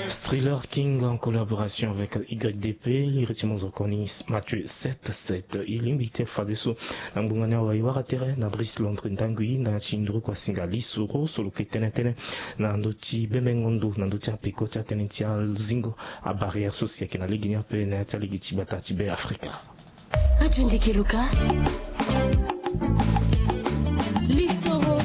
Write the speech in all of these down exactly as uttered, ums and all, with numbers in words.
Striller King en collaboration avec Y D P, il retient mon reconnus Mathieu sept sept. Il invite Fadeso. Na ngbonga ni awe e wara tere na Brice Londres Ndangui na ti nduru kua singa lisoro so lo ke tene tënë na ndö ti bembengo ndo na ndö ti apeko ti atënë ti azingo, abarrière so si ayeke na lege ni ape na ya ti alege ti gbata ti Be Afrika. Radio Ndeke Luka. Lisoro.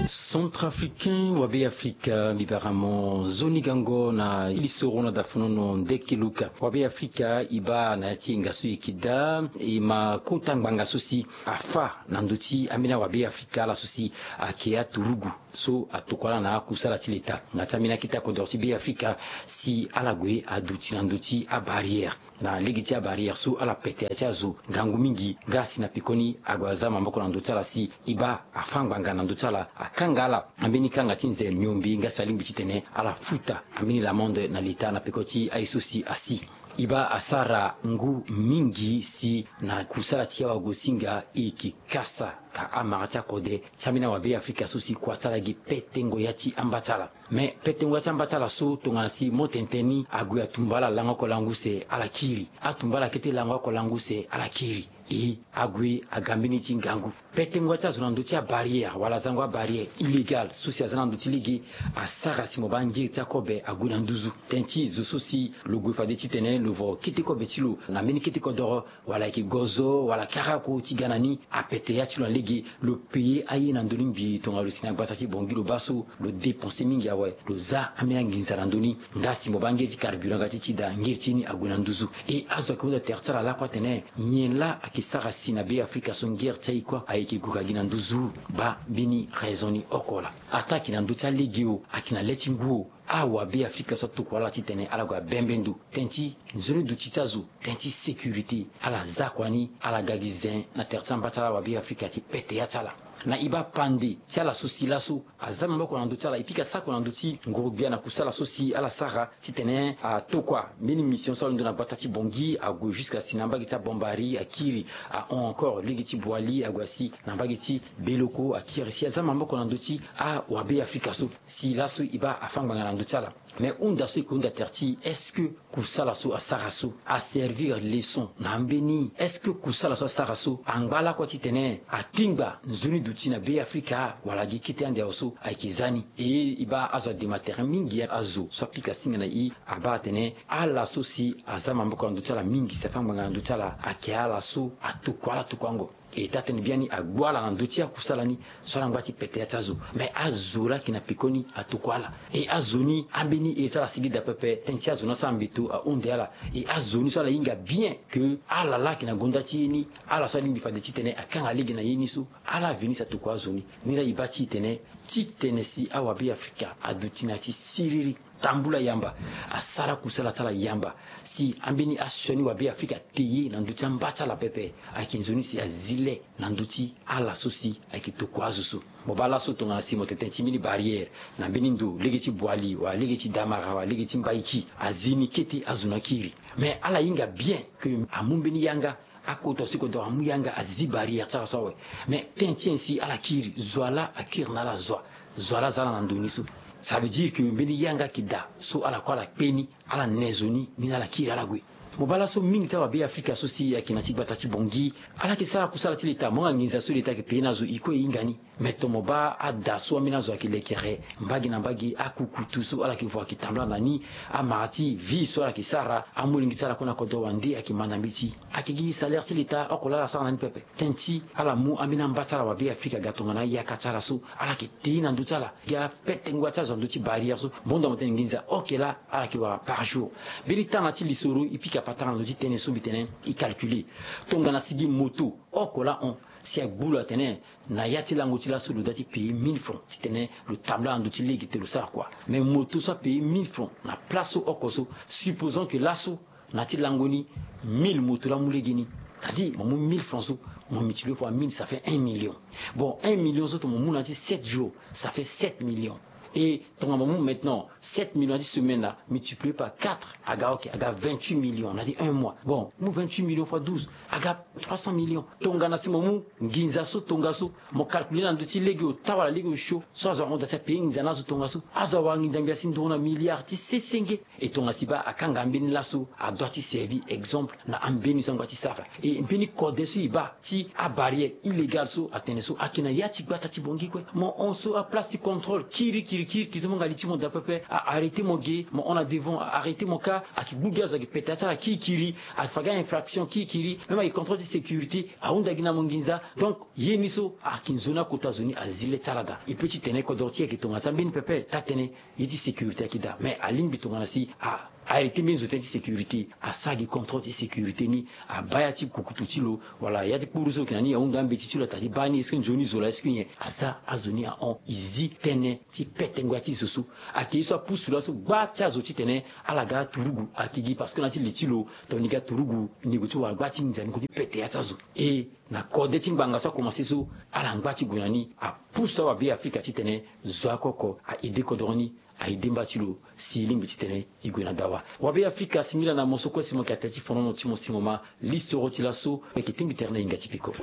Centrafricain wa Be Afrika, mbi bara mo nzoni gango na lisoro na dafonono Ndeke Luka. Wa Be Afrika, e baa na ya ti hinga so e yeke daa, e ma kota ngbanga so si afâ na ndö ti ambeni awa Be Afrika ala so si ayeke aturugu so atokua ala na akusala ti leta. Na ya ti ambeni akete akodoro ti Be Afrika si ala gue aduti na ndö ti abarrière. Na lege ti abarrière so ala pete ya ti azo ngangu mingi, nga si na pekoni ague aza maboko na ndö ti ala si e baa afâ ngbanga na ndö ti ala, akanga ala ambeni kanga ti nze miombe, nga si alingbi titene ala futa ambeni l'amende na leta na peko ti aye so si asi. E baa asara ngu mingi si na kusala ti awagosinga e yeke kasa ka amara ti akode ti ambeni awa Be Afrika so si kua ti ala gi petengo ya ti amba ti ala. Me petengo ya ti amba ti ala so tongana si mo tene tënë ni ague atumba ala lango oko lango use ala kiri. Atumba ala kete lango oko lango use ala kiri. E ague aga mbeni ti ngangu. Petengo ya ti azo na ndö ti abarrière wala azango abarrière illégale so si aza na ndö ti lege asara si mo baa ngiri ti akobe ague na nduzu. Tënë ti zo so si lo gue fade titene lo vo kete kobe ti lo na mbeni kete kodoro, wala ayeke gozo wala karako ti ga na ni, apete ya ti lo na lege, lo paye aye na ndö ni ngbii tongana lo si na gbata ti Bangui lo baa so, lo dépenser mingi awe, lo za ambeni anginza na ndö ni. Nga si mo baa ngiri ti carburant nga ti ti daa, ngiri ti ni ague na nduzu. E azo ayeke hunda tere ti ala lakue atene nyen laa ayeke sara si na Be Afrika so ngiri ti aye kue ayeke gue ka gi na nduzu? Baa mbeni raison ni oko laa. Ataa ayeke na ndö ti alege o, ayeke na le ti ngu o, awa Be Afrika so atokua ala titene ala gue abembe ndo. Tënë ti nzoni duti ti azo, tënë ti sécurité, ala za kua ni, ala ga gi zen na tere ti amba ti ala awa Be Afrika ti pete ya ti ala. Na e baa pande ti ala so si laso aza maboko na ndö ti ala, e pika sako na ndö ti nguru-gbia na kusala so si ala sara titene atokua mbeni mission so alondo na gbata ti Bangui, ague jusqu'à si na mbage ti Bambari akiri, ahon encore lege ti Boali, ague asi na mbage ti Beloko akiri, si aza maboko na ndö ti awa Be Afrika so. Si laso e baa afâ ngbanga na ndö ti ala. Me hunda so e ke hunda tere ti est-ce que kusala so asara so aservir leçon na ambeni? Est-ce que kusala so asara so angba lakue titene akpingba nzoni duti na Be Afrika wala gi kete ande awe so ayeke za ni? E e baa azo adema tere mingi, azo so apika singa na e abaa atene ala so si aza maboko na ndö ti ala mingi si afâ ngbanga na ndö ti ala ayeke ala so atokua ala tokuango. E taa tënë biani agbu ala na ndö ti akusala ni so ala ngba ti pete ya ti azo. Me azo laa ayeke na pekoni atokua ala. E azo ni ambeni ere ti ala asigi daa pepe, tënë ti azo ni asara mbeto ahunde ala. E azo ni so ala hinga bien ke ala laa ayeke na gonda ti ye ni, ala so alingbi fade titene akanga lege na ye ni so, ala veni si atokua azo ni. Ni laa e baa titene, titene si awa Be Afrika aduti na ya ti siriri. Tambula yamba, asara kusala ti ala yamba. Si ambeni asioni wa Be Afrika te ye na ndö ti amba ti ala pepe, ayeke nzoni si azi le na ndö ti ala so si ayeke tokua azo so. Mo baa laso tongana si mo tene tënë ti mbeni barrière na mbeni ndo lege ti Boali wala lege ti Damara wala lege ti Mbaiki, azi ni kete azo ni akiri. Me ala hinga bien ke amu mbeni yanga, akota so e kodoro amu yanga azi barrière ti ala so awe. Me tënë ti nyen si ala kiri? Zo wa laa akiri na ala zo wa. Zo wa laa aza ala na ndo ni so. Ça veut dire que mbeni yanga ayeke daa so ala kue ala kpe ni, ala ne zo ni, ni laa ala kiri ala gue. Mo baa laso mingi ti awa Be Afrika so si ayeke na ti gbata ti Bangui, ala yeke sara kusala ti leta, mo yanga nginza so leta ayeke paye na azo, e kue e hinga ni. Me tomo baa ada so ambeni azo ayeke lekere mbage na mbage, akukutu so ala yeke vo ayeke tambula na ni, amara ti vie so ala yeke sara, amolenge ti ala kue na kodro wande ayeke ma na mbeti. Ayeke gi salaire ti leta oko laa ala sara na ni pepe. Tënë ti ala mu ambeni amba ti ala wa Be Afrika aga tongana ayaka ti ala so, ala yeke te na ndö ti ala. Gi apetengo ti azo na ndö ti barrière so, mbondo mo tene nginza oke laa ala yeke wara par jour. Mbeni tanga ti lisoro e pika patara na ndö ti tënë so mbi tene e calculer. Tongana si gi moto oko laa hon, si agbu lo atene na ya ti lango ti laso lo doit ti payer mille francs titene lo tambula na ndö ti lege te lo sara kua. Mais moto so apayer mille francs na place so oko so, supposons que laso na ya ti lango ni mille moto laa amu lege ni, c'est-à-dire mo mu mille francs so, mo multiplier fois mille, ça fait un million. Bon, un million so tongana mo mu na ya ti sept jours, ça fait sept millions. Et tongana mo mu maintenant sept millions na ti semaine la, multiplié par quatre, aga ok, aga vingt-huit millions na ti un mois. Bon, mu vingt-huit millions fois douze, aga trois cents millions. Tongana si mo mu nginza so tongaso, mo calculer na ndö ti lege ota wala lege osio so azo ahunda si apayer nginza na azo tongaso, azo awara nginza ngbia si nduru na milliard ti sesenge. E tongana si baa akanga mbeni laso, adoit ti servir exemple na ambeni so angba ti sara. E mbeni kode so e baa ti abarrière illégale so atene so ayeke na ya ti gbata ti Bangui kue. Mo hon so aplace ti contrôle kirikiri kirikiri so mo nga li ti mo daa pepe, a arrêter mo ge, mo hon na devant, a arrêter mo kâ, ayeke gbu gi azo, ayeke pete ya ti ala kirikiri, ayeke fa gi a-infraction kirikiri, même ayeke contrôle ti sécurité, ahunda gi na mo nginza. Donc ye ni so ayeke nzoni akota zo ni azi le ti ala daa. E peut ti tene kodoro ti e ayeke tongana ti ambeni pepe taa-tënë, ye ti sécurité ayeke daa. Mais alingbi tongana si a arrêter mbeni zo tënë ti sécurité, asara gi contrôle ti sécurité ni, abaa ya ti kukutu ti lo wala ya ti kpuru so ayeke na ni, ahunda ambeti ti lo, atene ti baa ni, est-ce que nzoni zo laa, est-ce que nyen? Aza azo ni ahon, e zi tënë ti pete ngoi ya ti zo so. Ayeke ye so apusu laso gba ti azo titene ala ga aturugu ayeke gi, parce que na ya ti li ti lo, tongana ni ga aturugu, ni gue ti wara gba ti nginza, ni gue ti pete ya ti azo. E na kode ti ngbanga so akomanse so, ala ngba ti gue na ni, apusu awabe Afrika titene zo oko oko a-aider kodoro ni, a-aider mba ti lo si e lingbi titene e gue na dawa. Wabe Afrika, singila na mo so kue si mo yeke ata ti fonono ti mo singo ma lisoro ti laso, mo yeke tingbi tere na hinga ti peko.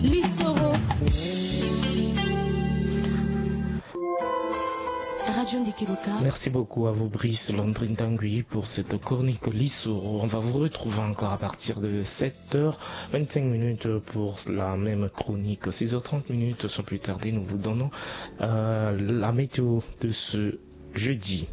Lisoro. Radio Ndiki Loka. Merci beaucoup à vous, Brice Landry Ndangui, pour cette chronique Lisoro. On va vous retrouver encore à partir de sept heures vingt-cinq minutes pour la même chronique. Six heures trente minutes sans plus tarder, nous vous donnons, euh, la météo de ce jeudi.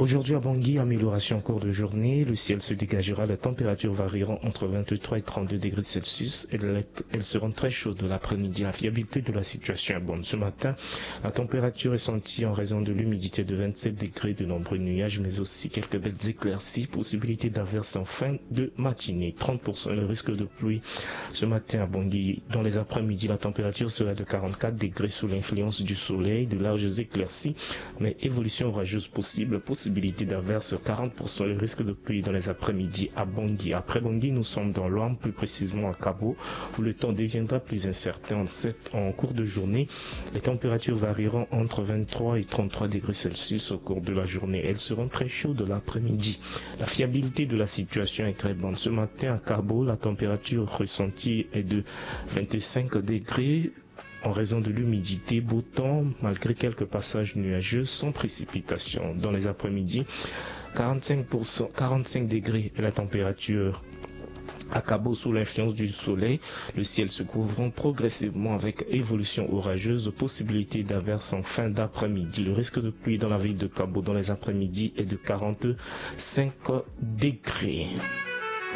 Aujourd'hui à Bangui, amélioration en cours de journée. Le ciel se dégagera, les températures varieront entre vingt-trois et trente-deux degrés Celsius. Elles, elles seront très chaudes l'après-midi. La fiabilité de la situation est bonne. Ce matin, la température ressentie en raison de l'humidité de vingt-sept degrés, de nombreux nuages, mais aussi quelques belles éclaircies. Possibilité d'averses en fin de matinée. Trente pour cent le risque de pluie ce matin à Bangui. Dans les après-midi, la température sera de quarante-quatre degrés sous l'influence du soleil. De larges éclaircies, mais évolution orageuse possible. Possibilité d'averses, quarante pour cent le risque de pluie dans les après-midi à Bangui. Après Bangui, nous sommes dans l'Ouham, plus précisément à Kabo, où le temps deviendra plus incertain en, cette, en cours de journée. Les températures varieront entre vingt-trois et trente-trois degrés Celsius au cours de la journée. Elles seront très chaudes l'après-midi. La fiabilité de la situation est très bonne. Ce matin, à Kabo, la température ressentie est de vingt-cinq degrés. En raison de l'humidité, beau temps, malgré quelques passages nuageux, sans précipitation. Dans les après-midi, quarante-cinq pour cent, quarante-cinq degrés est la température à Kabo sous l'influence du soleil. Le ciel se couvrant progressivement avec évolution orageuse, possibilité d'averses en fin d'après-midi. Le risque de pluie dans la ville de Kabo dans les après-midi est de quarante-cinq degrés.